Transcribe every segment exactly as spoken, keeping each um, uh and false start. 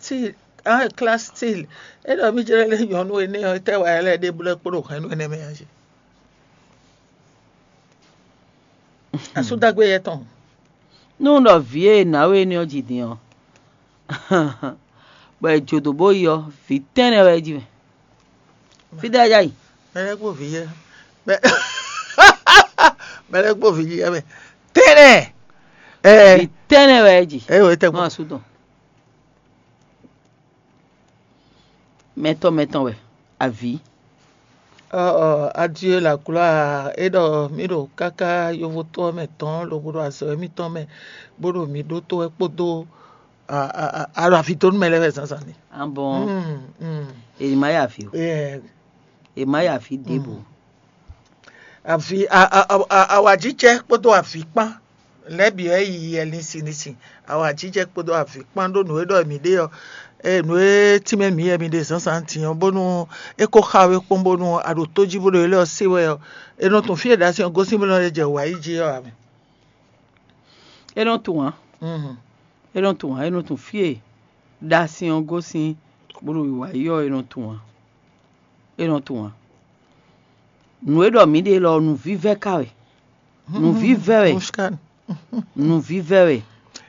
Stil, ah, classe stil. É ɖɔ mì jlɛ́ lé nyɔ̌nu énɛ́ ɔ́, étɛ́ wa ɛ lɛ́ɛ ɖe blɛ́ kpó ɖo hɛ̌nnu énɛ́ mɛ ǎ jí. Asúdágbé yɛ tɔn. Nú un ɖɔ vǐ e è nǎ we énɛ́ ɔ́ ji din ɔ́, bɔ è jǒ dó bó yi ɔ́, vǐ tɛ́nnɛ wɛ é ji mɛ. Fítɛ́ wɛ é já yi? Mɛ lɛ́ɛ kpó vǐ yɛ. Mɛ lɛ́ɛ kpó vǐ yɛ mɛ. Tɛ́nnɛ. Ɛ Vǐ tɛ́nnɛ wɛ é ji. Ɛ wɛ tɛ Nú kpó. Asú tɔn. Mɛtɔn mɛtɔn wɛ. Avǐ. Ɔ, ɔ, Adieu la gloire, é ɖɔ mǐ ɖo káká yovótɔ́ mɛ tɔn lobo ɖo azɔ̌ émítɔn mɛ, bó ɖo mǐ ɖótó wɛ kpódó a- a- a- alɔ avi dó nú mɛ lɛ́ɛ wɛ zǎnzǎn ni. Abɔn Mm, mm. Èyí má yà fi o. Ɛ, Èyí má yà fi débò. Avi a- a- a- a- awǎjijɛ kpódó avǐ kpán lɛ́ɛ bǐ wɛ yi yɛ linsin linsin. Awǎjijɛ kpódó avǐ kpán ɖó nǔ e ɖɔ mǐ ɖe ɔ́, e nǔ e tínmɛ mǐ wɛ mi ɖe zǎnzǎn din ɔ́, bónú é ko xa we kpɔ́n bónú a ɖo tó jí bó ɖo élɔ́ se wɛ ɔ́, è nɔ tunwun fí e ɖo asi ɔ́ gosín bó nɔ lɛ́ jɛ wǎ yi jí ɔ́ ǎ mɛ. É nɔ tunwun ǎ. Mhm. É nɔ tunwun ǎ. É nɔ tunwun fí e ɖo asi ɔ́ gosín bó ɖo wǎ yi ɔ́, é nɔ tunwun ǎ. É nɔ tunwun ǎ. Nǔ e ɖɔ mǐ ɖe lɔ, nǔvívɛ́ ka wɛ. Nǔvívɛ́ wɛ. Mushkan. Nǔvívɛ́ wɛ.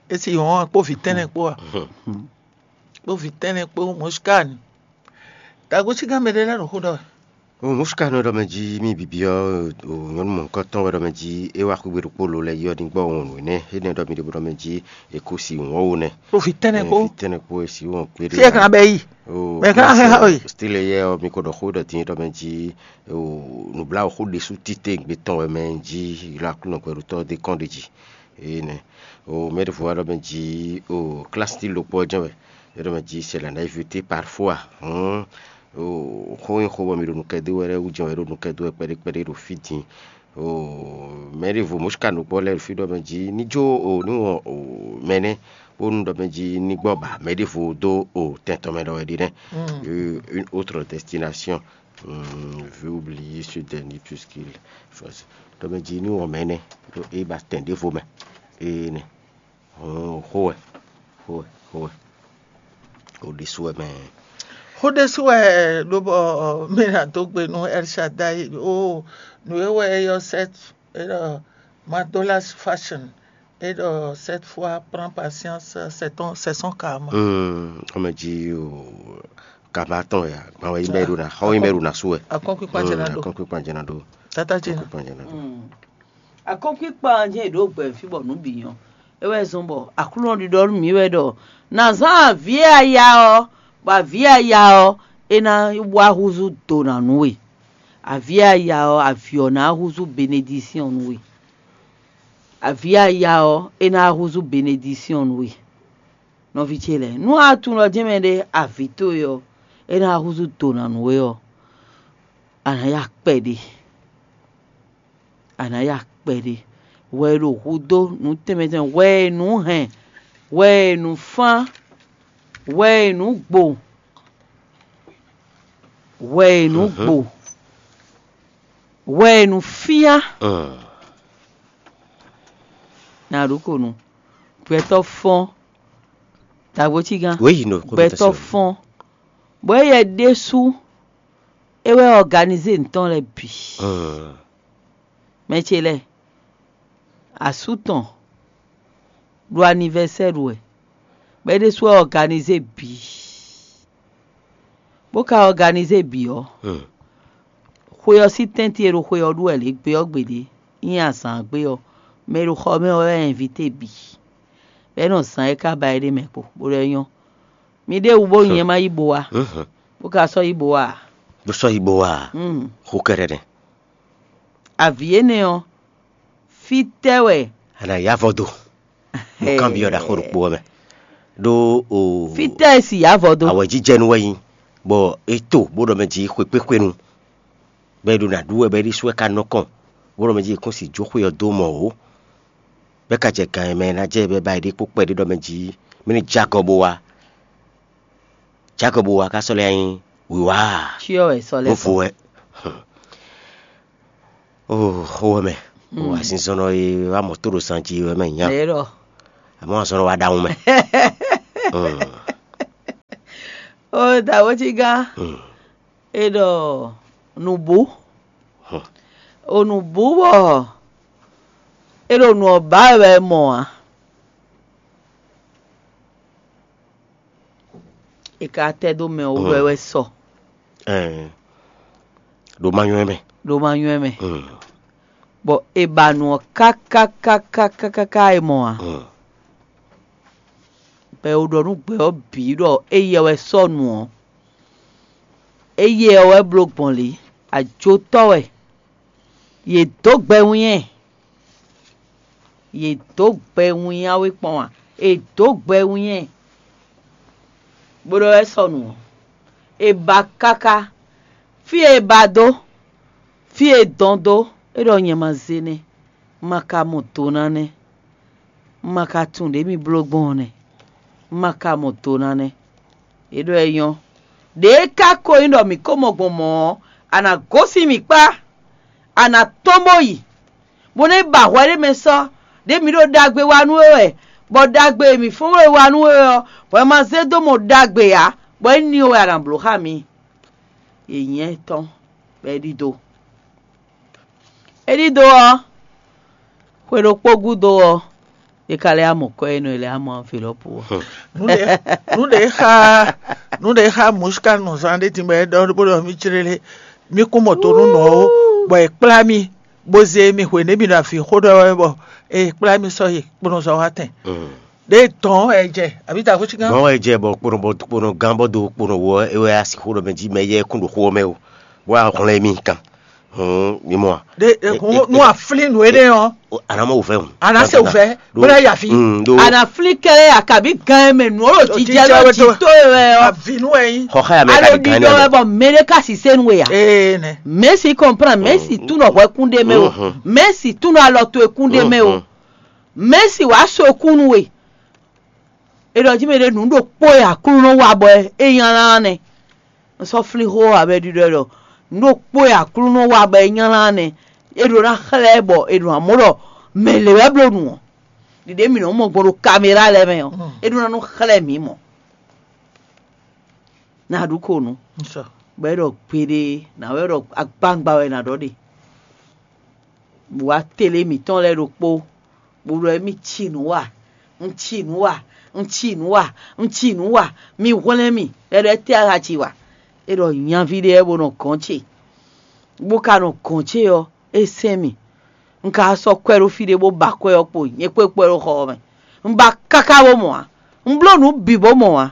Esi hɔn kpó vǐ tɛ́nnɛ kpó a? Kpó vǐ tɛ́nnɛ kpó Mushkan. Dagosígán mɛ ɖé lɛ́ɛ ɖo xó ɖɔ wɛ. O Mushkan ɖɔ mɛ jí mì bǐbí ɔ́, o nyɔ̌nu mɔ̌hunkɔtɔn wɛ ɖɔ mɛ jí é wá xwígbe ɖokpó lo lɛ́ɛ yi ɔ́ ní gbɔ wɔn nǔ énɛ́. Énɛ́ ɖɔ mi ɖe bó ɖɔ mɛ jí è kó si wɔn wo nɛ. Kpó vǐ tɛ́nnɛ kpó. Vǐ tɛ́nnɛ kpó e si wɔn kpé ɖé. Fí e kan bɛ yi. O Mɛ kan xɛ xá we. Style yɛ ɔ́, mi ko ɖɔ xó ɖɔ din ɖɔ mɛ jí o nǔbláwǔ xó ɖésú títewungbe tɔn wɛ mɛ jí ylɔ́ Aklúnɔ hwɛɖótɔ́ ɔ́ dó kɔn ɖ'é jí. Énɛ́. O mɛ ɖěvo wá ɖɔ mɛ jí o klásí tí lokpɔ́ ɔ́ jɛ́n wɛ. É ɖɔ mɛ jí c'est la naïveté parfois. Hɔn o xó nyí xó bɔ mi ɖo nukɛ dó wɛ lɛ́ɛ wú jɛ́n wɛ é ɖo nukɛ dó wɛ kpɛɖé kpɛɖé ɖo fí din. O mɛ ɖěvo mɔ̌ sika nǔgbó lɛ́ɛ ɖo fí ɖɔ mɛ jí ní jó o ní wɔn o mɛ nɛ́ bónú ɖɔ mɛ jí ní gbɔ ba mɛ ɖěvo dó o tɛn tɔn mɛ ɖɔ wɛ ɖe nɛ́. Euh, une autre destination. Hmm, vu oublier ce dernier puisqu'il faut ɖɔ mɛ jí ní wɔn mɛ nɛ́ ɖo é ba tɛn ɖěvo mɛ. Énɛ́. Hɔn xó wɛ, xó wɛ, xó wɛ. O ɖésú wɛ mɛ. Xó ɖésú wɛ ɖó bɔ mí ná dó gbe nú El Shaddai o nǔ e wɛ é ylɔ́ sɛ́ é ɖɔ Madolas fashion é ɖɔ cette fois prends patience, c'est ton c'est son karma. Hmm, xɔmɛ jí o kaba tɔn ya gban wɛ yi mɛ ɖo na xɔ yi mɛ ɖo na su wɛ. Akɔnkpinkpan jɛ na ɖo. Akɔnkpinkpan jɛ na ɖo. Tata jɛ na. Akɔnkpinkpan jɛ na ɖo. Akɔnkpinkpan jɛ ɖo gbɛ fí bɔ nǔ bǐ nyɔ. É wɛ zɔn bɔ Aklúnɔ ɖiɖɔ nú mǐ wɛ ɖɔ nǎ zán avǐ e a ya ɔ́, bɔ avǐ e a ya ɔ́, é ná wá húzú do nǎ nú we. Avǐ e a ya ɔ́, avǐ ɔ́ ná húzú benedisíɔn nú we. Avǐ e a ya ɔ́, é ná húzú benedisíɔn nú we. Nɔví ce lɛ́ɛ, nú a tunwun ɖɔ jɛ́n mɛɖé avǐ towe ɔ́, é ná húzú do nǎ nú we ɔ́, a nǎ ya kpɛɖé. A nǎ ya kpɛɖé. Hwɛ e ɖo hudó nǔ tɛnmɛ tɛnmɛ, hwɛ e nǔ hɛn, hwɛ e nǔ fán, hwɛ e nǔ gbo, hwɛ e nǔ gbo, hwɛ e nǔ fyán. Na ɖu ko nu. Gbɛtɔ́ fɔ́n. Dǎgbócígán. Wěyi nɔ kó Gbɛtɔ́ fɔ́n. Bɔ éyɛ ɖésú é wɛ ɔganizé nǔ tɔn lɛ́ɛ bǐ. Mɛ ce lɛ́ɛ, asú tɔn ɖo anivɛsɛ́ ɖu wɛ, bɔ é ɖésú wɛ ɔganizé bǐ. Bó ka ɔganizé bǐ ɔ́, xwe ɔ́ sín tɛ́ntin e ɖo xwe ɔ́ ɖu wɛ lě gbé ɔ́ gbeɖé, nyí azǎn gbe ɔ́, mɛ e ɖo xɔ ɔ́ mɛ ɔ́ wɛ ɛnvité bǐ. Bɔ é nɔ zǎn e ka ba é ɖ'é mɛ kpo, bó ɖɔ é nyɔ́. Mi ɖěbǔ bó nyɛ ma yi bo wá, bó ka sɔ́ yi bo wá ǎ. Bó sɔ́ yi bo wá a? Xó kɛ́ɖɛ́ nɛ́. Avǐ énɛ́ ɔ́, fítɛ́ wɛ? A nǎ yá avɔ dó. Nǔkanbyɔ́ ɖaxó ɖokpó ɔ́ mɛ. Ɖó o Fítɛ́ e si yá avɔ dó? Awɛjijɛnu wɛ nyí, bɔ é to bó ɖɔ mɛ jí xwekpéxwenu, bɔ é ɖo nǎ ɖu wɛ, bɔ é ɖésú wɛ ka nɔ kɔn, bó ɖɔ mɛ jí è kún si jó xwe ɔ́ dó mɔ wǒ, bɔ é ka jɛ gan e mɛ ná jɛ bɔ é ba yi ɖe kpó kpɛɖé ɖɔ mɛ jí mɛ ní jɛ agɔ bó wá. Jɛ agɔ bó wá ka sɔ́ lɛ́ nyí wǐwá. Cyɔ wɛ sɔ́ lɛ́ Vo wɛ. Oo, xó wɛ mɛ. O azinzɔnnɔ e wá mɔ tó ɖo zan jí wɛ mɛ nya. Eye ɖɔ. Àmọ́ azɔn wa ɖaxun mɛ. Ó dǎwéjígán, è ɖɔ nǔbú. Ò nǔbú bɔ è ɖo nǔ ɔ́ ba wɛ wɛ mɔ ǎ. È ka tɛ́ dó mɛ wú wɛ wɛ sɔ. Ɛɛ, ɖo ma nywɛ́ mɛ. Ɖo ma nywɛ́ mɛ. Bɔ è ba nǔ ɔ́ kákákákákáká è mɔ ǎ. Bɔ è ɖɔ nú gbɛ ɔ́ bǐ ɖɔ éyɛ wɛ sɔ́ nǔ ɔ́. Éyɛ ɔ́ wɛ bló gbɔn lě. Ajotɔ́ wɛ. Yě dó gbɛ wínnyɛ́. Yě dó gbɛ wínnyá wé kpɔ́n ǎ. È dǒ gbɛ wínnyɛ́. Bó ɖɔ wɛ sɔ́ nǔ ɔ́, è ba káká. Fí e è ba dó, fí e è dɔn dó, é ɖɔ nyɛ ma zé nɛ́, un ma ka mɔ do ná nɛ́, un ma ka tunwun ɖě mi bló gbɔn ɔ́ nɛ́, un ma ka mɔ do ná nɛ́. É ɖɔ é nyɔ́. Ɖě e ka ko nyí ɖɔ mǐ ko mɔ gbɔn mɔ̌ ɔ́, a nǎ gosín mǐ kpá, a nǎ tɔ́n bó yi, bó nɔ́ yi ba hwɛ ɖé mɛ sɔ́, ɖěe mǐ ɖo ɖagbe wa nú we wɛ, bɔ ɖagbe e mǐ fɔ́n we wa nú we wɛ ɔ́, hwɛ ma zé dó mɔ ɖagbe ǎ, bɔ é ní we wɛ a nǎ bló xá mǐ. Yě nyí ɛtɔ́, bɔ é ɖidó. É ɖidó ɔ́, xwe ɖokpó gúdo ɔ́, é ka lɛ́ amɔ kɔ́ e nɔ e lɛ́ amɔ anvilɔ́pu ɔ́. Nǔɖé nǔɖé xa nǔɖé xa mǔsika nɔ zan ɖé din bɔ é ɖɔ bó ɖɔ mí jlélé mí kún mɔ to nú nɔ ó, bɔ è kplá mì bó zé mì hwenu e mì ɖo avǐ xó ɖɔ wɛ bɔ è kplá mì sɔ́ yi kponɔzɔwatɛn. Ɖé dɔn wɛ jɛ àbí ta xúsíkan? Gbɔn wɛ jɛ bɔ kponɔ bɔ kponɔ gán bɔ do kponɔ wɔ é wɛ asi xó ɖɔ mɛ jí mɛ yɛ kún ɖo xó ɔ́ mɛ o, bó wá hwlɛ́n mì kan. Hɔn mi mɔ a? Ɖe nú aflín nǔ énɛ́ ɔ́, Anamɔ wò fɛ hùn. Ana se wò fɛ bóná yà fi. Ana flín kɛlɛ ya kabi gan mɛ nǔ ɔlɔ jijɛ lɔ ji tó wɛ ɔ. Àfi nú ẹ yín. Xɔxɛ ya mɛ Alo kabi gan ɖiɖɔ nɛ. Wɛ bɔ mɛɖe ka si senu wɛ ya. Ee nɛ. Mɛsi kɔnplan mɛsi túnɔ hwɛ kún ɖe mɛ o. Mɛsi túnɔ alɔ to ekún ɖe mɛ o. Mɛsi wàá so ekún nu we. È ɖɔ jí mɛ ɖé nǔ ɖokpó e Aklúnɔ wa bɔ é nylá nɛ́. Un sɔ́ flín xó ɔ́ abɛ ɖiɖɔ ɖɔ nǔ ɖokpó e Aklúnɔ wa bɔ é nylá nɛ́. É ɖó ná xlɛ́ bɔ è ɖo amɔ̌ ɖɔ mɛ lě wɛ bló nǔ ɔ́. Ɖiɖě mǐ nɔ mɔ gbɔn ɖo kaméra lɛ́ɛ mɛ ɔ́, é ɖó ná nɔ xlɛ́ mǐ mɔ̌. Nǎ ɖu ko nǔ, bɔ é ɖɔ gbeɖé nǎ wɛ ɖɔ agbangba wɛ nǎ ɖɔ ɖe. Wǎ tele mǐtɔn lɛ́ɛ ɖokpó, bó ɖɔ émí ci nǔ wa, un ci nǔ wa, un ci nǔ wa, un ci nǔ wa, mi hwlɛ́n mì, é ɖɔ étɛ́ a ka ci wa? É ɖɔ nyaví ɖé wɛ bó nɔ gɔ̌n ce, bó ka nɔ gɔ̌n ce ɔ́, é sɛn mì. Un ka sɔ́ kwɛ́ ɖó fí ɖé bó ba kwɛ́ ɔ́ kpo, nyɛ kpó é kpó ɛ ɖó xɔ ɔ́ mɛ. Un ba káká bó mɔ ǎ, un bló nǔ bǐ bó mɔ ǎ.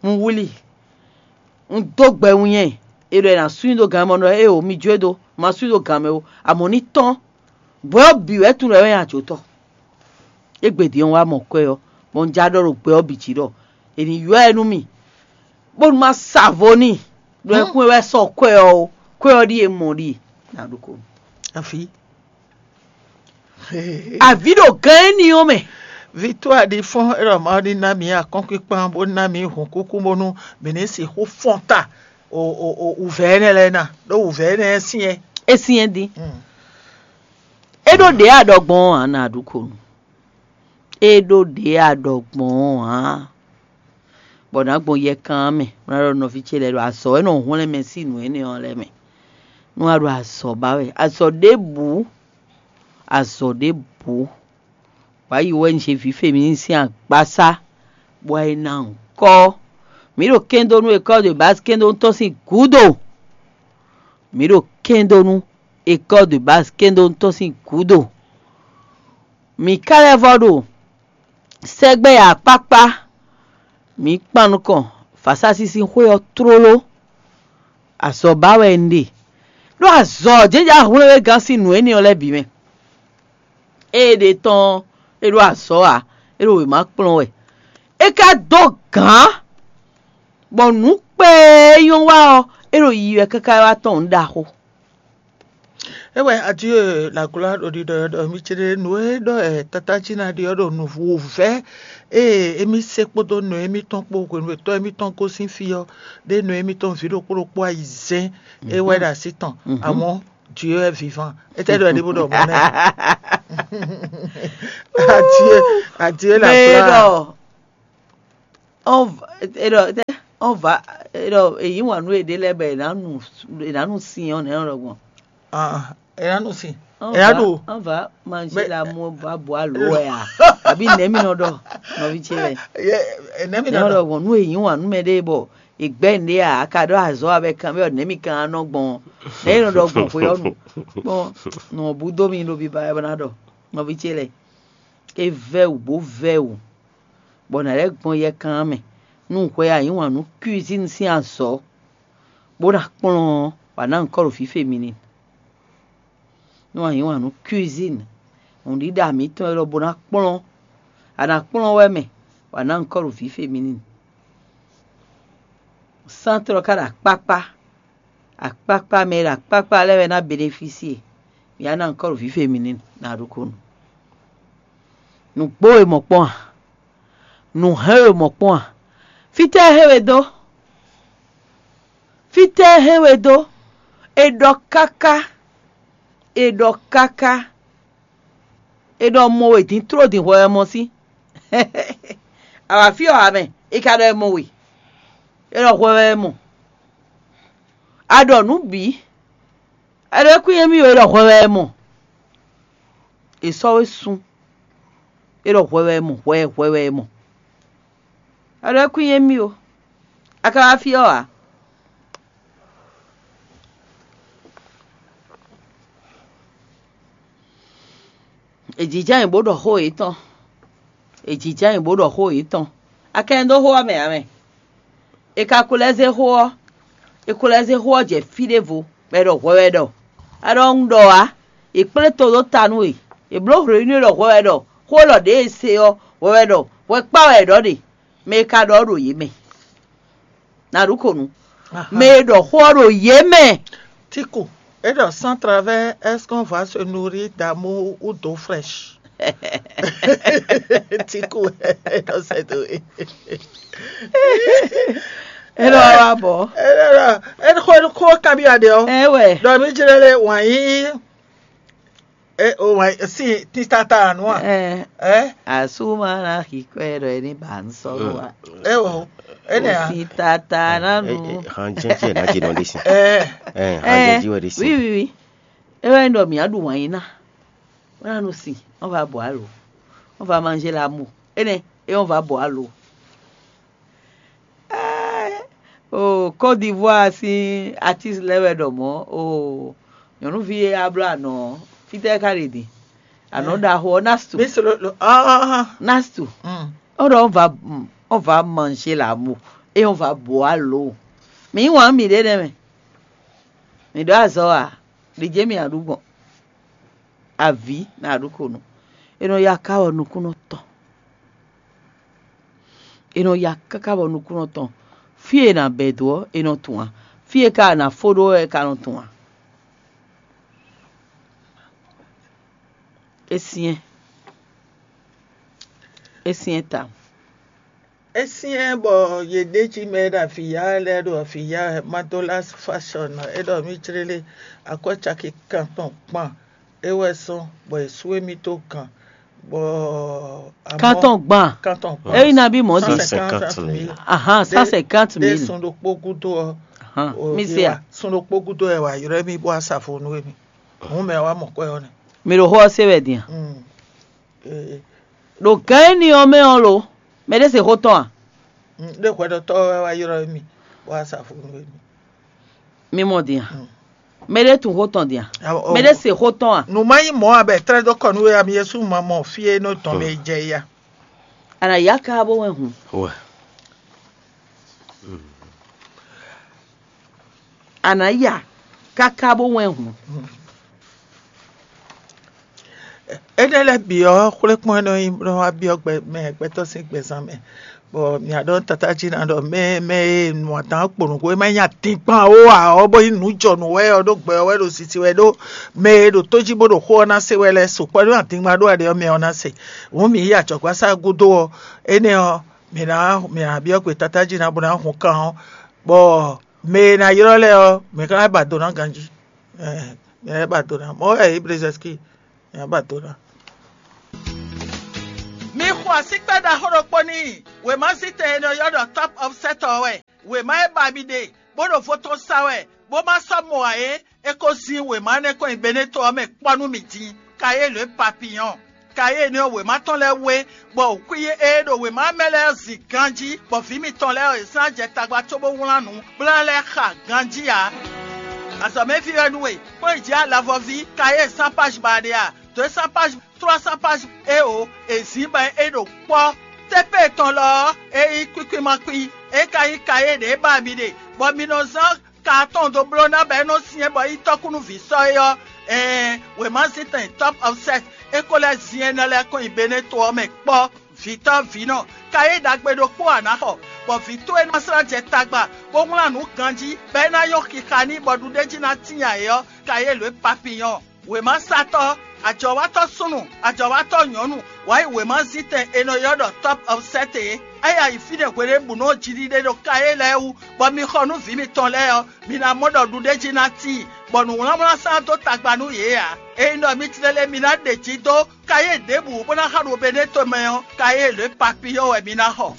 Un wlí, un dó gbɛ wínnyɛ́, è ɖɔ è nǎ sú nyi dó gan mɛ ɖɔ éeǒ, mi jó e dó, ma sú nyi dó gan mɛ ó, amɔ̌ ní tɔ́n. Bwɛ̌ ɔ́ bǐ wɛ tunwun ɖɔ é wɛ nyí ajotɔ́. Égbé din ɔ́ wá mɔ kwɛ́ ɔ́, bɔ un já ɖɔ ɖo gbɛ ɔ́ bǐ jí ɖɔ è ní ylɔ́ ɛ nú mì, bónú má sa vo n'i, ɖɔ é kún é wɛ sɔ́ kwɛ́ ɔ́ ó, kwɛ́ ɔ́ ɖíe mɔ ɖíe. Nǎ ɖokó. Afi. Avǐ ɖo gán éní ɔ́ mɛ. Victoire ɖi fɔ́n é ɖɔ Mawu ní ná mǐ akɔ́nkpíkpán bó ná mǐ hǔnkúkú bónú mǐ ní sixú fɔ́n ta wǔvɛ́ énɛ́ lɛ́ɛ ná, ɖó wǔvɛ́ énɛ́ syɛ́n. É syɛ́n dín. É ɖó ɖě a ɖɔ gbɔn ɔ́ ǎ, nǎ ɖu ko nu. É ɖó ɖě a ɖɔ gbɔn ɔ́ ǎ. Bɔ nǎ gbɔn yɛkan ɔ́ mɛ, bó ná ɖɔ nɔví ce lɛ́ɛ ɖo azɔ̌ wɛ nɔ hwlɛ́n mɛ sín nǔ énɛ́ ɔ́ lɛ́ɛ mɛ. Nú a ɖo azɔ̌ ba wɛ, azɔ̌ ɖěbǔ, azɔ̌ ɖěbǔ. Wǎ yi wɛ un zé vǐ Femini sín agbasá, bɔ é ná nyǐkɔ. Mǐ ɖo kɛ́ndó nú école de base kɛ́ndónú tɔn sín gǔdo. Mǐ ɖo kɛ́ndó nú école de base kɛ́ndónú tɔn sín gǔdo. Mǐ ka lɛ́ vɔ ɖo sɛgbɛ akpákpá, mǐ kpan nukɔn vǎsásísí xwé ɔ́ tlóló. Azɔ̌ ba wɛ un ɖe, ɖó azɔ̌ jɛ́njɛ́n hwlɛ́nwégán sín nǔ énɛ́ ɔ́ lɛ́ɛ bǐ mɛ. Ée ɖe tɔn ɔ́, é ɖó azɔ̌ ǎ, é ɖo wěma kplɔ́n wɛ. É ka dó gǎn, bɔ nǔ kpɛɛ e nyɔ́ wa ɔ́, é ɖo yiyi wɛ káká wá tɔn nǔ ɖaxó. É wɛ Adieu la gloire ɖo ɖiɖɔ ɖɔ mi ce ɖe nǔ e ɖɔ ɛ tata jí ná ɖi ɔ́ ɖo nǔvú wǔvɛ́ ée émí se kpódó nɔ émítɔn kpó hwenu e tɔ́ émítɔn gosín fí ɔ́ ɖé nɔ émítɔn vǐ ɖokpó ɖokpó ayizɛ́n é wɛ ɖo así tɔn amɔ̌ Dieu est vivant. Étɛ́ ɖɔ é ɖi bó ɖɔ mɔ̌ nɛ́? Adieu, Adieu la gloire. On va, et le- ɔ́n vǎ, é ɖɔ è yǐ wǎn nú yěɖée lɛ́ɛ bɔ è nǎ nu, è nǎ nu sin ɔ́ nɛ̌ nɔ ɖɔ gbɔn? Ah, è nǎ nu sin. Ɔ́n È nǎ vǎ ɖu. Ɔ́n vǎ manzé la mú vǎ bɔ alo wɛ a? Àbí nɛ̌ mi nɔ ɖɔ nɔví ce lɛ́ɛ? Nɛ̌ mi nɔ ɖɔ gbɔn nú è yǐ wǎn nú mɛɖée bɔ è gbɛ́ nǔɖé a? A ka ɖɔ azɔ̌ a bɔ è kan bɔ nɛ̌ mi kan nɔ gbɔn? Nɛ̌ mi nɔ ɖɔ gbɔn xwe ɔ́ nu? Kpɔn nɔ bú dó mi ɖo biba wɛ bɔ ná ɖɔ nɔví ce lɛ́ɛ. É vɛ́ wǔ bó vɛ́ wǔ, bɔ nǎ lɛ́ gbɔn yɛkan ɔ́ mɛ, nú hwɛ a yǐ wǎn nú cuisine sín azɔ̌, bó ná kplɔ́n ɔ́, wǎ ná nyǐkɔ ɖo fífé mi n'i. Nú a yǐ wǎn nú cuisine, nǔɖiɖa mǐtɔn élɔ́ bó ná kplɔ́n, a nǎ kplɔ́n wɛ mɛ, wǎ ná nyǐkɔ ɖo fífé mi n'i. Sántlɔ ka ɖo akpákpá, akpákpá mɛ e ɖo akpákpá lɛ́ɛ wɛ ná benefísie. Mǐ wá ná nyǐkɔ ɖo fífé mi n'i ná ɖokónu. Nǔgbó e mɔ kpɔ́n a? Nǔ hɛn e mɔ kpɔ́n a? Fítɛ́ e hɛn we dó? Fítɛ́ e hɛn we dó? È ɖɔ káká, è ɖɔ káká, è ɖɔ mɔ we din tló din hwɛ wɛ mɔ sí. A wǎ fí ɔ́ ǎ mɛ, è ka ɖɔ è mɔ we, è ɖɔ hwɛ wɛ è mɔ. A ɖɔ nǔ bǐ, a ɖɔ é kún nyɛ mì ó, è ɖɔ hwɛ wɛ è mɔ. È sɔ́ we sun, é ɖɔ hwɛ wɛ è mɔ, hwɛ hwɛ wɛ è mɔ. A ɖɔ é kún nyɛ mì ó, a ka wá fí ɔ́ ǎ. È jǐjá nyi bó ɖɔ xó yětɔn. È jǐjá nyi bó ɖɔ xó yětɔn. A ka nyi dó xó ɔ́ mɛ ǎ mɛ. È ka ko lɛ́ zé xó ɔ́, è ko lɛ́ zé xó ɔ́ jɛ fí ɖěvo, bɔ è ɖɔ hwɛ wɛ ɖɔ. A ɖɔ un ɖɔ ǎ, è kplé to ɖó ta nú we. È blǒ hwlɛ̌nú e ɖɔ hwɛ wɛ ɖɔ xó élɔ́ ɖě e se ɔ́, hwɛ wɛ ɖɔ, hwɛ kpá wɛ è ɖɔ ɖe. Mɛ e ka ɖɔ ɔ́ ɖo yě mɛ. Ná ɖu kǒ nu. Mɛ e ɖɔ xó ɔ́ ɖo yě mɛ. Tiku, é ɖɔ sans travail, est-ce qu'on va se nourrir d'amour ou d'eau fraîche? Tiku, é ɖɔ c'est tout. É ɖɔ wá bɔ. É ɖɔ, é xó, é xó kabi aɖe ɔ́. Ɛ wɛ. Ɖɔ mi jlɛ lé wǎn yíyí. E o wɛ si titata anu a? Ɛ, Ɛ? Asuma na xi kɔ ɛ ɖɔ ɛ ní ba ŋsɔ nu a. E o, ene a? Titata na nu. Han jɛnjɛn na ji nɔ ɖi si. Ɛ, Ɛ, han jɛnji wɛ ɖi si. Oui, oui, oui. E wɛ ɖɔ mǐ aɖu wǎn yí ná. Wọ́n ná nu si, wọ́n va bɔ alo, wọ́n va manger l'amour. Ene, e wọ́n va bɔ alo. Ɛ, o Côte d'Ivoire sín artiste lɛ́ɛ wɛ ɖɔ mɔ̌, o nyɔ̌nuví e a bló anɔ ɔ́, fítɛ́ ka ɖe din? Anɔ ɖaxó ɔ́, Nastu. Mi solo lo ah ah ah. Nastu. Mm. Ɔ́ ɖɔ ɔ́ va ɔ́ va manger l'amour, eye ɔ́ va bɔ alo. Mi yí wǎn mi ɖě nɛ́ mɛ. Mi ɖó azɔ̌ a? Ɖi jě mi aɖu gbɔn. Avǐ nǎ ɖu konu. È nɔ ya ká wɔ nukúnnɔ tɔn. È nɔ ya káká bɔ nukúnnɔ tɔn. Fí e è nǎ bɛ̌ dó ɔ́, è nɔ tunwun ǎ. Fí e ka è nǎ fó ɖó ɔ́, è ka nɔ tunwun ǎ. É syɛ́n. É syɛ́n tawun. É syɛ́n bɔ yě ɖe jí mɛ e ɖo avǐ ya wɛ lɛ́ɛ ɖo avǐ ya wɛ. Madolas Fashion ɔ́, é ɖɔ mì jlélé akwɛ́ caki kan tɔn kpan é wɛ zɔ́n bɔ è sú émí dó gan, bɔ amɔ̌ Kan tɔn gban. Kan tɔn gban. Ényí nabí mɔ̌ din. Cent cinquante mille. Ahan, cent cinquante mille. Ɖé sun ɖokpó gúdo ɔ́. Ahan, o, mi se a? Sun ɖokpó gúdo ɛ wà yrɔ́ émí bó wá sa vo nú émí. Hǔn mɛ wá mɔ kwɛ́ ɔ́ nɛ́. Mi ɖo xó ɔ́ se wɛ din a? Mm. Ee. Ɖo gǎn énɛ́ ɔ́ mɛ ɔ́ lo, mɛ ɖé se xó tɔn a? Mm, ɖé hwɛɖɔtɔ́ wɛ wá yrɔ́ émí bó wá sa vo nú émí. Mi mɔ din a? Mm. Mɛ ɖé tunwun xó tɔn din a? Mɛ ɖé se xó tɔn a? Nǔ má nyí mɔ̌ ǎ bɔ è tlɛ́ dó kɔ nú we ǎ, mi Yɛsu ma mɔ fí e nɔ tɔn mɛ jɛ ya. A nǎ yá ká bó wɛn hǔn. Wɛ. A nǎ ya káká bó wɛn hǔn. Énɛ́ lɛ́ɛ bǐ ɔ́, xwlékpɔ́n e nɔ nyí bó nɔ wá byɔ́ gbɛ mɛ gbɛtɔ́ sín gbɛzán mɛ, bɔ mǐ wá ɖɔ nú tatájí ná ɖɔ mɛ mɛ e nu adǎn kpo nǔgbó e má nyí adingban ó ǎ ɔ́, bó nyí nǔjɔnǔ wɛ ɔ́ ɖó gbɛ ɔ́ wɛ ɖo sisi wɛ ɖó mɛ e ɖo tó jí bó ɖo xó ɔ́ ná se wɛ lɛ́ɛ sukpɔ́ ɖó adingban ɖó aɖe ɔ́ mɛ ɔ́ ná se. Hǔn mǐ yi ajɔ̌gbásá gúdo ɔ́, énɛ́ ɔ́, mǐ ná mǐ ná byɔ́ gbe tatájí ná bó ná hun kan ɔ́, bɔ mɛ e ná ylɔ́ lɛ́ɛ ɔ́, mǐ ka ná ba do ná ganjí. Ɛɛ, mǐ ná ba do ná. Mɔ̌ wɛ Ebrezɛ́ski, mǐ ná ba do ná. Mi xɔ Asíkpɛ́ ɖaxó ɖokpó n'i. Wěmazítɛn e nɔ ylɔ́ ɖɔ Top of Set ɔ́ wɛ. Wěma e ba mi ɖe, bó ɖo vo tɔn sa wɛ, bó ma sɔ́ mɔ ǎ é, é ko zín wěma énɛ́ kɔn nyi Beneto ɔ́ mɛ kpɔ́ nú mì din. Kayélu e papiyɔn. Kayélu énɛ́ ɔ́, wěma tɔn lɛ́ɛ wú é, bɔ wǔkwín e ɖo wěma mɛ lɛ́ɛ ɔ́ zin ganjí, bɔ vǐ mitɔn lɛ́ɛ ɔ́, è zán jɛ tagba cóbó wlán nǔ bó ná lɛ́ xa ganjí ǎ. Azɔ̌mɛví wɛ nú we, kplɔ́n yi jǐ alavɔví, Kayélu sán páj ba ɖe a? Dǒ e sán páj, tlɔ́ sán páj éeǒ, è zǐn bɔ é ɖo kpɔ́. Tɛ́ pé tɔn lɔ ɔ́, é nyí kwíkwímakwí, é ka nyí kayé ɖě ba mi ɖe, bɔ mi nɔ zán ka atɔn dó bló ná bɔ é nɔ syɛ́n bɔ é nyí tɔ́kúnúví sɔ́ é ɔ́, ɛɛn, wěmazítɛn Top of Set é ko lɛ́ zin énɛ́ lɛ́ɛ kɔn nyi Beneto ɔ́ mɛ kpɔ́. Vǐtɔ́ vǐnɔ, kayé ɖagbe ɖokpó a nǎ xɔ, bɔ vǐ towe ná slán jɛ tagba, bó wlán nǔ ganjí, bɔ é ná nyɔ́ xixa n'i bɔ ɖuɖéjí ná tíin ayǐ ɔ́, kayé lǒ e papiyɔn. Wěmasatɔ́, ajɔ̌watɔ́ súnnu, ajɔ̌watɔ́ nyɔ̌nu, wǎ yi wěmazítɛn è nɔ ylɔ́ ɖɔ Top of Set é. É ya yi fínɛ́ hweɖěbǔnu ɔ́ jiɖiɖe ɖo kayé lɛ́ɛ wú, bɔ mi xɔ nú vǐ mitɔn lɛ́ɛ ɔ́, mi ná mɔ ɖɔ ɖuɖéjí ná tíin, bɔ nǔwlánwlán sán dó tagba nú yě ǎ. Ényí ɖɔ mi tlélé mi ná ɖe jǐ dó kayé ɖěbǔ bó ná xa ɖo Beneto mɛ ɔ́, kayé lě papiyɔ́ wɛ mi ná xɔ.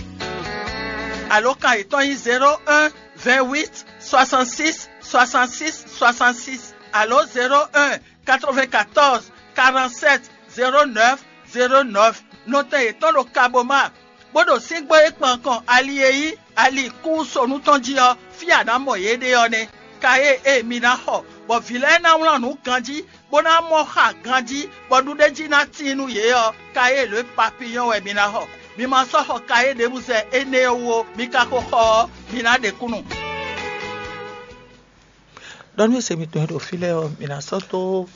Alǒkan yětɔn nyí zéro un, vingt huit, soixante six, soixante six, soixante six, alǒ zéro un, quatre vingt quatorze, quarante sept, zéro neuf, zéro neuf. Nɔtɛn yětɔn ɖo Kaboma, bó ɖo síngbó e kpan kɔn ali e nyí ali kúnsonu tɔn jí ɔ́, fí a nǎ mɔ yě ɖe ɔ́ nɛ́. Kayé e mi ná xɔ, bɔ vǐ lɛ́ɛ ná wlán nǔ ganjí, bó ná mɔ xa ganjí, bɔ ɖuɖéjí ná tíin nú yě ɔ́, kayé lě papiyɔ́ wɛ mi ná xɔ. Mi ma sɔ́ xɔ kayé ɖěbǔ zɛ énɛ́ ɔ́ wú ó, mi ka ko xɔ ɔ́, mi ná ɖe kúnnu. Ɖɔ nú se mitɔn e ɖo fí lɛ́ɛ ɔ́, mi ná sɔ́ dó.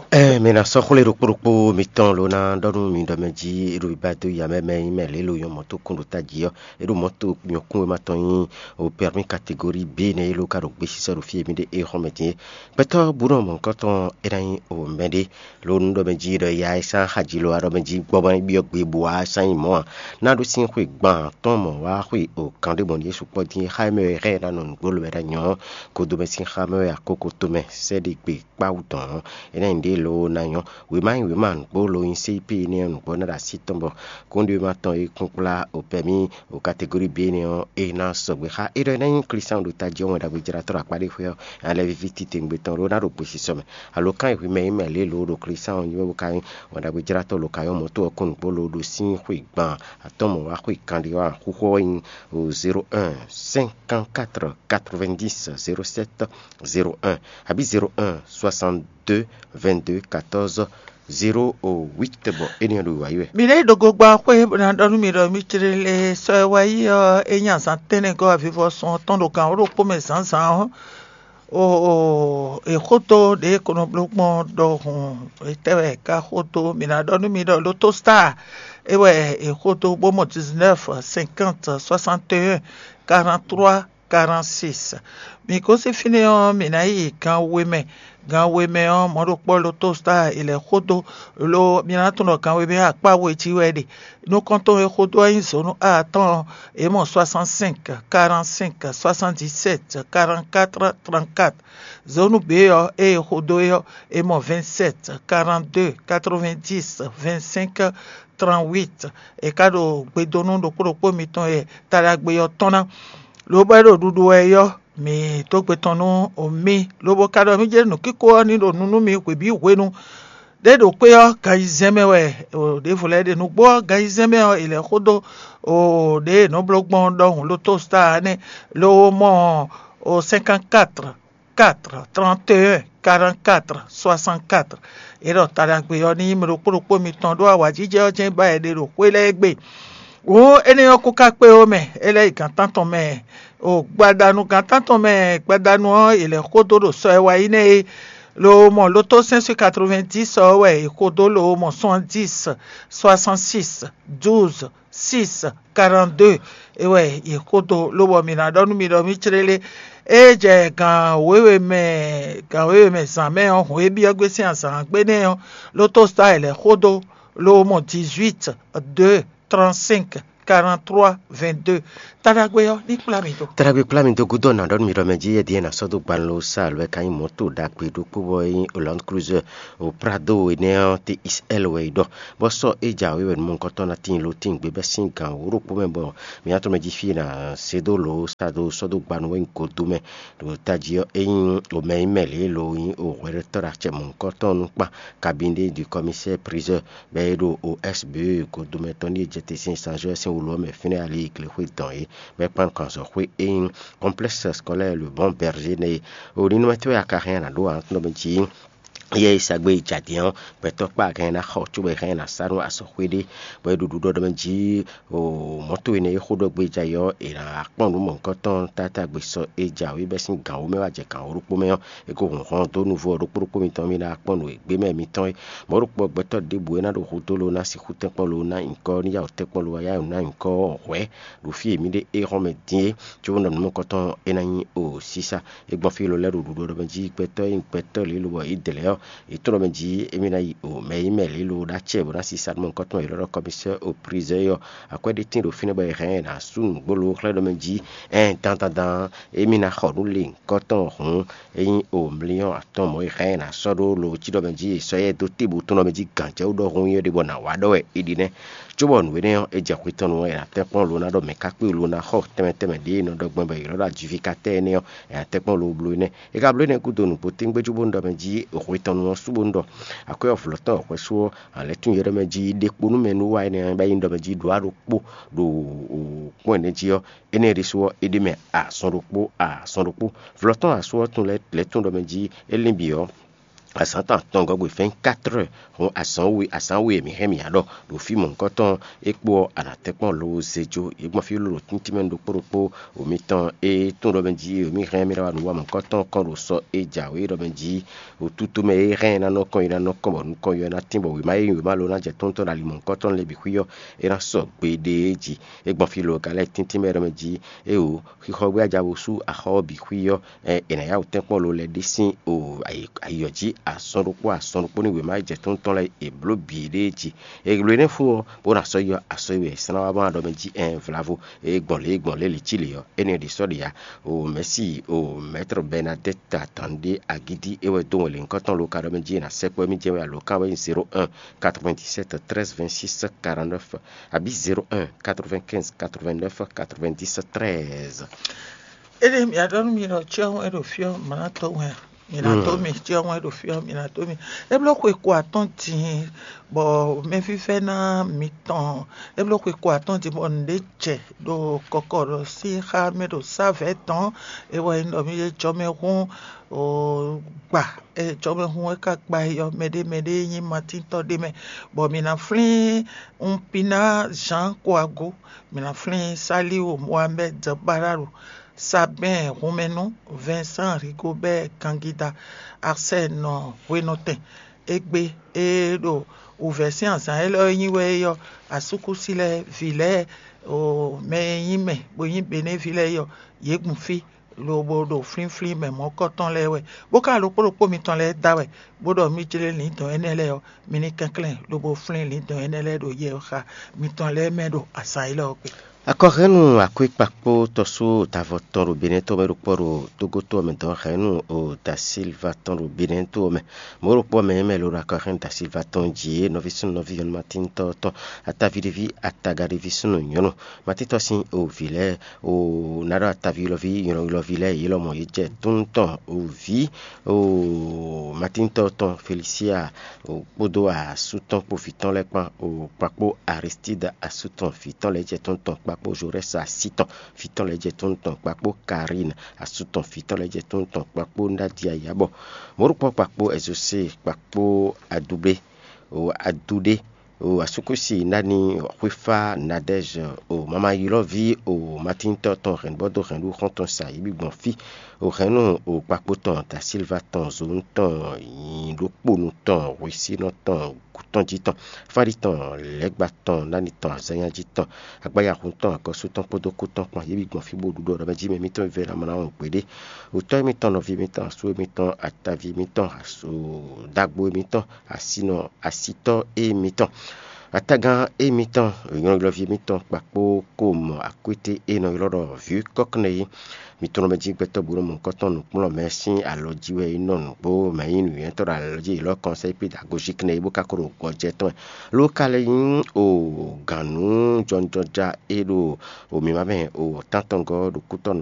Ɛɛ, mi ná sɔ́ xwlé ɖokpó ɖokpó mitɔn ló ná ɖɔ nú mi ɖɔ mɛ jí é ɖo yi ba dó ya mɛ mɛ nyí mɛ lě lo nyɔ mɔ̌ tó kún ɖo tají ɔ́, é ɖo mɔ̌ tó nyɔ̌kún e ma tɔn nyí o pɛrmí kategóri B nɛ́ é ló ka ɖo gbesisɔ ɖo fí e mì ɖe é xɔ́n mɛ din é. Gbɛtɔ́ bú nɔ mɔ̌hunkɔtɔn é ná nyí o mɛɖé lo nú ɖɔ mɛ jí ɖɔ ya é sán xají lo wá ɖɔ mɛ jí gbɔ ma byɔ́ gbe bó wá sán nyi mɔ̌ ǎ. Ná ɖó sín xwe gban tɔn mɔ̌ wá xwe o kan ɖé mɔ̌ ɖíe sukpɔ́ din é xá é mɛ wɛ xá é ná nɔ nǔgbó lo wɛ ná nyɔ̌. Kodomɛ sín xá mɛ wɛ akóko tomɛ sɛ́ ɖé gbe kpáwú tɔn ɔ́, é ná nyí ɖě loo ná nyɔ́. Wěma nyi wěma nǔgbó lo nyi C I P énɛ́ ɔ́ nǔgbó ná ɖo así tɔn bɔ kónɖéwéma tɔn e kún kplá opɛmí o kategóri B énɛ́ ɔ́, é ná sɔgbe xá é ɖɔ é ná nyí Klísu ɖo tají ɔ́ wɛn ɖagbe jlátɔ́ ɖo akpá ɖé xwé ɔ́, nya lɛ́ɛ víví titewungbe tɔn ɖó ná ɖo gbesisɔ mɛ. Alo kán e hwi mɛ nyí mɛ lě lo ɖo Klísu ɔ́ nyí wɛ bó ka nyí wɛn ɖagbe jlátɔ́ lo ka nyɔ́ mɔ̌ to ɔ́ kún nǔgbó lo ɖo sín xwe gban atɔ́ mɔ̌ wá xwe kanɖé wá xúxú ɔ́ nyí o zéro un, cinquante-quatre, quatre-vingt-dix, zéro sept, zéro un, abǐ zéro un, soixante-deux, vingt-deux, quatorze, zéro huit, bɔ énɛ́ ɔ́ ɖo wǎyi wɛ. Mǐ ɖe ɖo gogba xwé bó ná ɖɔ nú mi ɖɔ mi clé lé sɔ́ e wá yi ɔ́, é nyí azǎn tɛ́nnɛgɔ́ avivɔsɔn ɔ́ tɔn ɖo gan wǒ ɖokpó mɛ zǎnzǎn ɔ́, o o è xódó ɖě e kono bló gbɔn ɖɔhun. Etɛ́ wɛ è ka xódó? Mǐ ná ɖɔ nú mi ɖɔ lotostar é wɛ è xódó bó mɔ dix-neuf, cinquante, soixante et un, quarante-trois, quarante-six. Mǐ gosín fínɛ́ ɔ́, mǐ ná yi gan we mɛ. Gan we mɛ ɔ́, mɔ̌ ɖokpó lotostar è lɛ̌ xódó, lo mi ná tunwun ɖɔ gan we mɛ ɔ́ akpá we jí wɛ é ɖe. Nukɔntɔn e xódó ɔ́ nyí zǒnu A atɔ́ɔ́n, é mɔ soixante-cinq, quarante-cinq, soixante-dix-sept, quarante-quatre, trente-quatre. Zǒnu B ɔ́, ée è xódó é ɔ́, é mɔ vingt-sept, quarante-deux, quatre-vingt-dix, vingt-cinq, trente-huit. È ka ɖo gbedonu ɖokpó ɖokpó mitɔn e taɖagbe ɔ́ tɔn ná, lobɔ é ɖo ɖuɖu wɛ é ɔ́, mǐ dó gbe tɔn nú mì, lobo ka ɖɔ mì jɛ nǔkíko ɔ́ ní ɖo nu nú mi hwebǐ hwenu. Ɖě ɖo kpé ɔ́, gan ayizɛ́n mɛ wɛ ɖěvo lɛ́ɛ ɖe. Nǔgbó ɔ́, gan ayizɛ́n mɛ ɔ́, è lɛ̌ xó dó ɖě è nɔ́ bló gbɔn ɖɔhun lotostar ɔ́ nɛ́, lo mɔ cinquante-quatre, quatre, trente et un, quarante-quatre, soixante-quatre. É ɖɔ taɖagbe ɔ́ ní nyí mɛ ɖokpó ɖokpó mitɔn ɖó awǎjijɛ ɔ́ jɛ́n ba è ɖe ɖo xwé lɛ́ɛ gbe. Wǒ énɛ́ ɔ́ kún ka kpé ó mɛ, é lɛ́ yi gǎn tántɔn mɛ. O gbadanu gǎn tántɔn mɛ, gbadanu ɔ́, è lɛ̌ xódó ɖo sɔ e wá yi nɛ́ é. Lo mɔ lotó cinq cent quatre-vingt-dix ɔ́ wɛ è xódó lo mɔ soixante-dix, soixante-six, douze, six, quarante-deux. É wɛ è xódó lobɔ mǐ ná ɖɔ nú mi ɖɔ mì clélé. É jɛ gǎn wěwe mɛ, gǎn wěwe mɛ zǎn mɛ ɔ́, hɔn e byɔ́ gbé sín azǎn gbe nɛ́ ɔ́, lotó sta è lɛ̌ xódó lo mɔ dix-huit, deux, trente-cinq, quarante-trois, vingt-deux. Taɖagbe ɔ́ ní kplá mi dó. Taɖagbe kplá mi dó gúdo ɔ́, nǎ ɖɔ nú mi ɖɔ mɛ jí yɛ́ ɖíe ná sɔ́ dó gban ló sá alo é ka nyí mɔ̌to ɖagbe ɖokpó bɔ é nyí Land Cruiser o Prado énɛ́ ɔ́, T X L wɛ é ɖɔ, bɔ sɔ́ é jǎwe wɛ nǔmɔkɔtɔn ná tíin ló tíin gbé bɛ́ sín gǎn wǒ ɖokpó mɛ, bɔ mǐ ná tɔ́n mɛ jí fí e è nǎ se dó lǒ sá dó sɔ́ dó gban nú wɛ nyí godo mɛ. Ɖo tají ɔ́, é nyí omɛ nyí mɛ lě e lo nyí o hwɛɖɔtɔ́ ɖo acɛ mɔ̌hunkɔtɔn ɔ́ nukpa, kabinde du commissaire priseur, bɔ é ɖo O S B godomɛtɔ́ ní e jɛ te sín Saint-Jean sín wulu ɔ́ mɛ fínɛ́ ali glexwé dɔn é, bɔ é kpan nukɔn azɔ̌xwé e nyí Complexe Scolaire Le Bon Berger nɛ́ é. O ninɔmɛ tɔ́ wɛ a ka hɛn a nǎ ɖó ǎ nɔ mɛ jí yɛ e sa gbé yi jadin ɔ́, gbɛtɔ́ kpá a hɛn ná xɔ cóbɔ è hɛn ná sá nú azɔ̌xwé ɖé, bɔ é ɖo ɖuɖɔ ɖɔ mɛ jí o mɔ̌to énɛ́ e xó ɖɔ gbé jɛ ayǐ ɔ́, è nǎ kpɔ́n nǔ mɔ̌hunkɔtɔn tátágbe sɔ e jǎwe bɛ́ sín gǎn wǒ mɛ wá jɛ gǎn wǒ ɖokpó mɛ ɔ́, é ko hun hɔn dó nuvo ɔ́ ɖokpó ɖokpó mitɔn mì ná kpɔ́n nǔ e gbé mɛ mitɔn é. Mɔ̌ ɖokpó ɔ́, gbɛtɔ́ ɖěbǔ e ná ɖo xudó ló ná sixú tɛ́nkpɔ́n ló ná nyǐkɔ ní yá wǒ tɛ́nkpɔ́n ló wá yá wǒ ná nyǐkɔ ɔ́ hwɛ̌ ɖo fí e mǐ ɖe é hɔn mɛ din é, cóbó nɔ nǔ nukɔntɔn é ná nyí o sísá. É gbɔn fí ló lɛ́ ɖo ɖuɖu ɖɔ mɛ jí gbɛtɔ́ e nyí gbɛtɔ́ lě lobɔ yě dlɛ̌ ɔ́, yě tunwun ɖɔ mɛ jí émí ná yi o mɛ e nyí mɛ lě lo ɖó acɛ bó ná sísá nú mɔ nukɔntɔn yě lɔ́ ɖɔ kɔmísɛ́ o prizɛ́ ɔ́, akwɛ́ ɖé tíin ɖo fínɛ́ bɔ è hɛn ɛ ná sú nǔgbó lo xlɛ́ ɖɔ mɛ jí ɛn dandandan émí ná xɔ nú le nukɔntɔn hǔn é nyí o mliyɔn atɔn mɔ̌ e xá ɛ ná sɔ́ ɖó lo cí ɖɔ mɛ jí è sɔ́ yɛ dó tébu tɔn ɖɔ mɛ jí gǎnjɛwú ɖɔhun nyí ɔ́ ɖe bɔ nǎ wa ɖɔ wɛ é ɖi nɛ́. Cóbɔ nǔ énɛ́ ɔ́, é jɛ xwe tɔn nu ɔ́, è nǎ tɛ́nkpɔ́n lo ná ɖɔ mɛ̌ ká kpé lo ná xɔ tɛnmɛ tɛnmɛ ɖě è nɔ ɖɔ gbɔn bɔ è nɔ ɖɔ ajivikatɛ́ énɛ́ ɔ́, è nǎ tɛ́nkpɔ́n lo bló énɛ́. È ka bló énɛ́ gúdo nǔgbó tégbé cóbó nú ɖɔ mɛ jí xwe tɔn nu ɔ́ sú bó nú ɖɔ akwɛ́ ɔ́ vlɔ̌ tɔn xwɛsú ɔ́, alɛ̌ tún yɛ ɖɔ mɛ jí ɖe kpo nú mɛ nú wa énɛ́ ɔ́, bɔ é nyí ɖɔ mɛ jí ɖǒ aɖokpó ɖo kpɔ́n énɛ́ jí ɔ́, énɛ́ ɖésú ɔ́, é ɖ'é mɛ azɔn ɖokpó azɔn ɖokpó. Vlɔ̌ tɔn asú ɔ́ tun lɛ́ lɛ̌ tún ɖɔ mɛ jí é lín bǐ ɔ́, azǎn tɔn atɔngɔ́ gbe vingt-quatre heures hun azǎn we azǎn we e mǐ hɛn mǐ ǎ ɖɔ ɖo fí mɔ̌hunkɔtɔn é kpó ɔ́, a nǎ tɛ́nkpɔ́n lo zé jó. Yě gbɔn fí lolo tíntín mɛ ɖokpó ɖokpó. Omitɔn e tún ɖɔ mɛ jí omi hɛn mì ɖɔ wá nǔ wa mɔ̌hunkɔtɔn kɔn ɖo sɔ e jǎwe ɖɔ mɛ jí, o tútú mɛ e hɛn ná nɔ kɔn yi ná nɔ kɔn bɔ nukɔn yɔ ná tín bɔ wěma e nyí wěma lo ná jɛ tɔn tɔn ɖo ali mɔ̌hunkɔtɔn lɛ́ɛ bǐ xwí ɔ́, é ná sɔ gbeɖé jí. É gbɔn fí lo ka lɛ́ tíntín mɛ ɖɔ mɛ jí, é o xixɔ gbé aja bo sú axɔ ɔ́ bǐ xwí ɔ́, ɛ, è nǎ yá wǔ tɛ́nkpɔ́n lo lɛ́ ɖe sín o ayǐ- ayǐyɔ jí azɔn ɖokpó azɔn ɖokpó ní wěma jɛ tɔn tɔn lɛ́ɛ è blǒ bǐ ɖée jí. È lo énɛ́ fó ɔ́, bó ná sɔ́ yɔ asɔ́ e wɛ è slán wá bó ná ɖɔ mɛ jí ɛn vlavo, é gbɔn lě é gbɔn lě lǐ cí lě ɔ́, énɛ́ ɖě sɔ́ ɖě ǎ. O mɛ̌si o mɛ̌tr Bɛnadɛ́t Atandi Agídí é wɛ dó wɛn lě nyǐkɔ tɔn lo ka ɖɔ mɛ jí è nǎ sɛkpɔ́ émí jɛ́n wɛ alo kan wɛ nyí zéro un quatre-vingt-dix-sept treize vingt-six quarante-neuf, abǐ zéro un quatre-vingt-quinze quatre-vingt-neuf quatre-vingt-dix treize. Éɖée mǐ ɖɔ nú mi ɖɔ cyɔ́n wɛ ɖo fí ɔ́, mǐ ná tó wɛn a? Mǐ ná tó mi, cyɔ́n wɛ ɖo fí ɔ́, mǐ ná tó mi. É bló xwe ko atɔ́ɔ́n din bɔ mɛfífɛ́ná mitɔn, é bló xwe ko atɔ́ɔ́n din bɔ nǔɖé jɛ ɖo kɔkɔ ɖɔ sín xá mɛ ɖo sávɛ̌ tɔn. É wɛ nyí ɖɔ mì jɛ jɔmɛhún gba, jɔmɛhún e ka gba yi ɔ́, mɛɖé mɛɖé nyí matíntɔ́ ɖé mɛ, bɔ mǐ ná flín Unpina Jean Kouago, mǐ ná flín Saliu Mohamed Bararo, Sabɛn Hunmɛnu, Vincent Rigobert Gangida, Arsène Hwenɔtɛn. Égbé e ɖo wǔvɛ́ sín azǎn élɔ́ e nyí wɛ é ɔ́, asúkúsi lɛ́ɛ, vǐ lɛ́ɛ, o mɛ e nyí mɛ bó nyí Benévi lɛ́ɛ é ɔ́, yě gbun fí lobo ɖo flínflín mɛ mɔ̌kɔtɔn lɛ́ɛ wɛ, bó ka ɖokpó ɖokpó mitɔn lɛ́ɛ da wɛ, bó ɖɔ mì jlé lǐndɔ̌n énɛ́ lɛ́ɛ ɔ́, mi ní kɛnklɛ́n lobo flín lǐndɔ̌n énɛ́ lɛ́ɛ ɖo yɛ xa mitɔn lɛ́ɛ mɛ ɖo azǎn élɔ́ ɔ́ gbe. Akɔhɛ́nnu akwékpakpó tɔ́sú tavɔ tɔn ɖo Benɛ́ tɔn mɛ ɖo kpɔ́ ɖo Tógótɔ́ mɛ dɔn hɛ̌nnu o da Silva tɔn ɖo Benɛ́ to mɛ. Mɔ̌ ɖokpó mɛ mɛ ló ɖo akɔhɛ́nnu da Silva tɔn jí é nɔví súnnu nɔví nyɔ̌nu Matíntɔ́ tɔn, ataví ɖéví ataga ɖéví súnnu nyɔ̌nu. Matíntɔ́ sín o vǐ lɛ́ɛ o ná ɖɔ ataví ylɔ́ví ylɔ́ví lɛ́ɛ yě lɔmɔ̌ yě jɛ tún tɔn o vǐ o Matíntɔ́ tɔn Felisia o kpódó asú tɔn kpó vǐ tɔn lɛ́ɛ kpán o kpakpó Aristída asú tɔn vǐ tɔn lɛ́ɛ jɛ tún tɔn kpakpó Zorɛ́si así tɔn vǐ tɔn lɛ́ɛ jɛ tún tɔn kpakpó Karín asú tɔn vǐ tɔn lɛ́ɛ jɛ tún tɔn kpakpó Nádiyayabɔ mɔ̌ ɖokpó kpakpó Ɛzosée kpakpó Adublé o Aduɖé o asúkúsi nání xwéfá Nadɛ́zɛ o mamayilɔ́ví o Matíntɔ́ tɔn hɛ̌nbɔ́ dó hɛ̌nɖú xɔ́ntɔn sa yě bǐ gbɔn fí o hɛ̌nnu o kpakpó tɔn da Silva tɔn zǒnu tɔn nyi ɖokpónu tɔn hwesínɔ tɔn gǔtɔn jí tɔn fáɖi tɔn lɛ̌gba tɔn nání tɔn azɔ́nyá jí tɔn agbáyahun tɔn agɔ́sú tɔn kpódó kú tɔn kpán yě bǐ gbɔn fí bó ɖuɖu ɖɔ mɛ jí mɛ mítɔn vɛ́ ná mɔ ná wɔn gbeɖé. Otɔ́ émítɔn, nɔví émítɔn, asú émítɔn, ataví émítɔn, asu dagbo émítɔn, asinɔ asitɔ́ émítɔn. Atagán émítɔn, nyɔ̌nuylɔ́ví émítɔn kpakpó ko mɔ akwété e nɔ ylɔ́ ɖɔ vǐ kɔ́kɔ́nɛ́ é, mi tunwun mɛ jí gbɛtɔ́ bǔ nɔ mɔ nukɔntɔn nǔkplɔ́nmɛ sín alɔ jí wɛ é nɔ nǔgbó mɛ nyí nǔnywɛ́tɔ́ ɖo alɔ jí élɔ́ kɔnsɛ́ pí ɖo agojíkɛ́nɛ é bó ka ko ɖo gbɔjɛ tɔn mɛ. Ló ka lɛ́ nyí o gǎnnú jɔnjɔja e ɖo o mǐmá mɛ o tántɔngɔ́ ɖo kútɔ́nú